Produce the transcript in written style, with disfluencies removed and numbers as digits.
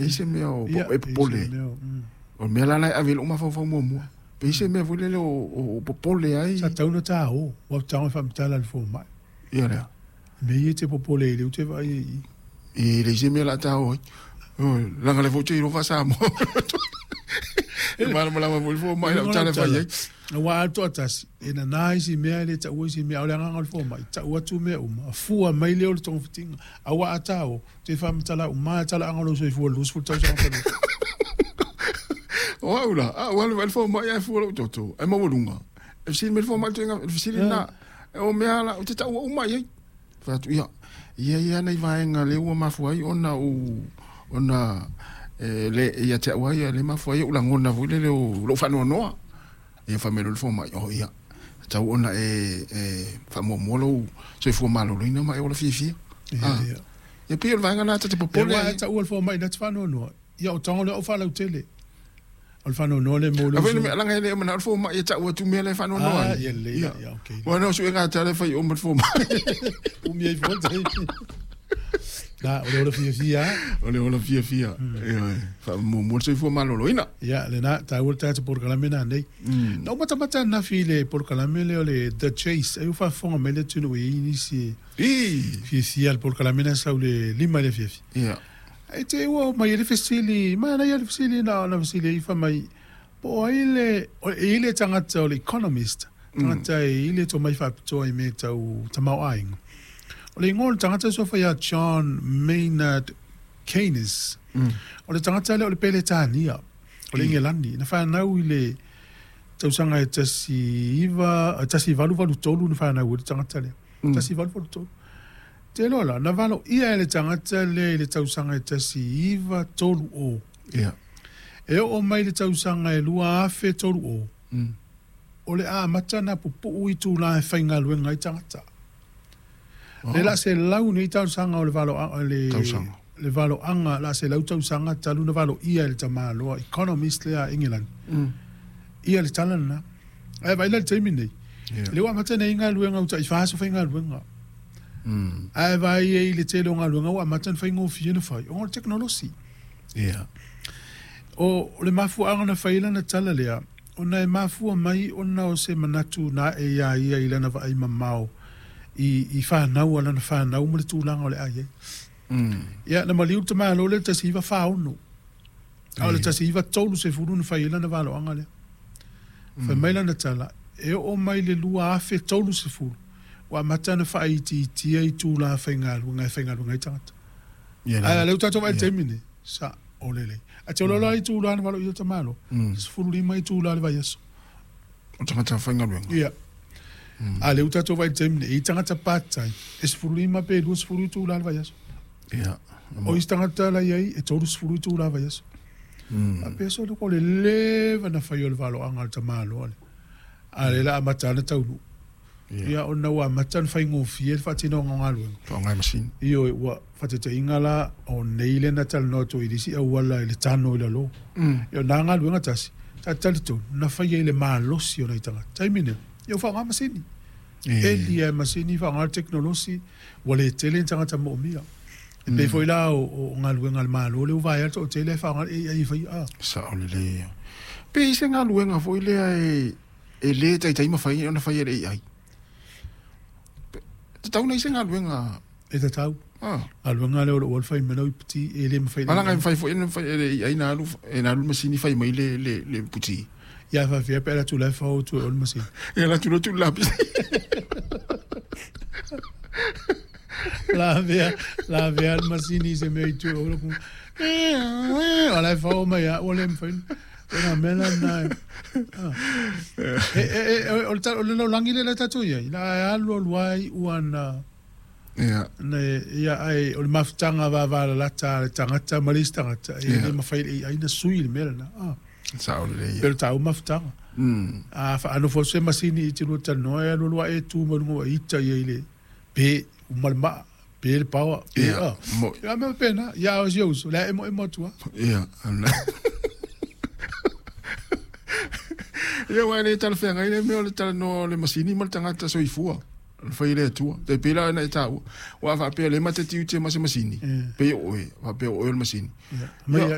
E se mea o e popole. O le mea la la e ave i lou mafaufau muamua. Pe i se mea foi lele o popole ai. Sa tatau ona ta o, ua tago e faamatala i le fomai. Ia lea. Mea ia e te popole ai, lea ou te vaai ai i i. E leai se mea o le a ta o ai. Leaga o lea foi ou te iloa faa-Samoa. E malamalama foi le fomai i lau tala e fai ai. Aua a alu toatasi, e nana isi mea, e le taua isi mea, a o le agaga o le fomai, tau atu mea uma, fua mai lea o le togafitiga. Aua a ta o, te faamatala uma lava talaaga o lou soifua i le 20 tausaga talu ai. O au la, a ou alu e vaai le fomai ae fua lou toto, ae maualuga. E fesili mai le fomai i le ituaiga, le fesili lena, o mea la, ou te taua uma i ai. Fai atu, ia, e i ai lava nai vaega lea ua mafua ai ona ou, ona e le, ia te au lava ia, lea e mafua ai ou lagona foi lele o lou faanoanoa. Ia fai mai loa le fomai, oh ia, tatau ona e, e faamuamua lou soifua maloloina ma e ola fiafia. Ia, ia. Ia pei o le vaega lena ta te popole ai. Aua e taua le fomai na te faanoanoa, ia o tago lea o faalautele. O le faanoanoa lea mo le uso. Leaga e le manao le fomai e tau atu mea la e faanoanoa ai. Ah, ia lelei, ia, okay. Ua na o suega a tala e fai uma le fomai. Umi ai fua le taimi. Na, o le ola fiafia. O le ola fiafia. Ioe. Faamuamua le soifua maloloina. Ia, lena, taua le tatou polokalame nanei. Na ou matamata ananafi i le polokalame lea o le The Chase, ai ua faafofoga mai le atunuu e i ai nisi e fiafia i le polokalame lea sau i le 5 i le afiafi. Ia. Ae te i ua omai ai le fesili, manaia le fesili na ona fesili ai fai mai, po o ai le, e i ai le tagata o le economist, tagata e i ai le tomai faapitoa i mea tau tamaoaiga. O le igoa o le tagata suafa ia John Maynard Keynes. O le tagata lea o le Peretania, o le Ingelani, na fanau i le tausaga e 1883 na fanau ai le tagata lea. 1883. Te iloa la, na valoia e le tagata lea i le tausaga e 1930. Ia. E oo mai i le tausaga e 2030, o le a amata ona pupuu itulā e faigaluega ai tagata. Le la selau nei tausaga o le valoaga, le, le valoaga, la selau tausaga talu na valoia e le tamaloa economist lea a Engelani. Ia le tala lena. Ae vaai la i le taimi nei, lea ua amata nei galuega ua tai fa aso faigaluega. Ae vaai ai i le tele o galuega ua amata ona faigofie ona fai ona o le tekonolosi. O le mafuaaga na fai ai lana tala lea, ona e mafua mai ona o se manatu na ae iā ia i lana vaai mamao i fanau a lana fanau ma le tulaga o le a i ai. Ia, na maliu le tamaloa lea i le 1946, a o le 1930 na fai ai lana valoaga lea. Fai mai lana tala, e oo mai i le 2030, ua amata ona faaitiitia itula faigaluega e faigaluega ai tagata. Ae o lea ua tatou vaai i le taimi lenei, sa o lelei. Ae te iloa loa itula na valoia e tamaloa, 15 itula i le vaiaso. O tagata faigaluega? Ia. A o lea ua tatou vaai i le taimi lenei, e i ai tagata part time e 15 pe 20 itula i le vaiaso. Ia. O isi tagata la i ai e 30 itula i le vaiaso. Faapea solo o le leva na fai o le valoaga a le tamaloa lea. A o lea o le a amata lava ona taunuu. Ia ona ua amata ona faigofie le faatinoga o galuega. Faaaoga e masini. Ioe, ua faataitaiga la, o nei lea na talanoa atu ai i le isi auala i le tano i lalo. Ia o na galuega tasi, ta te talitonu, na faia i le malosi o nai tagata. Taimi nei, ia ua faaaoga masini. Eli lava e masini, faaaoga le tekonolosi, ua le tele ni tagata moomia. E pei foi la o galuega a le Malo lea ua vaea le toatele ae faaaoga le AI e faia. Sao lelei. Pe i ai se galuega foi lea e e le taitai mafai ona fai e le AI. Tatau ona i ai se galuega. E tatau. Galuega lea o lou alu fai mai lau iputi e le mafai. Ala ngai fai foi na fai e le AI na alu e na alu masini fai mai le le le puti. Ia fa fia pe la tu la fa o tu o le masini. Ia la tu tu la pisi. La vea la vea le masini se mea i tu o le ku. Ala fa o mai a o le mafai. O nā mea la nā e. E, e, e, o le, o le lalolagi lea la tatou i ai, la e alu alu ai ua na, na ia, ai, o le mafutaga vavalalata a le tagata ma le isi tagata, e le mafai e le AI na sui le mea lena. Ah. Sao lelei. Pei o le tāua mafutaga. A faanofo atu se masini i te lua talanoa, e alu alu ae e tu mai luga ua ita ia i le pe, uma le maa. Pe le paoa, pe Ia, a. mo- Ia mea pena, ia o si uso, le emo emo atu a. Ia, ia, aua e le talafeagai le mea o le talanoa o le masini ma le tagata soifua. Na fai le Atua. Tai pei la na e tāua. Ua faapea le ma te tiute ma se masini. Pei o oe, faapea o oe o le masini. Ma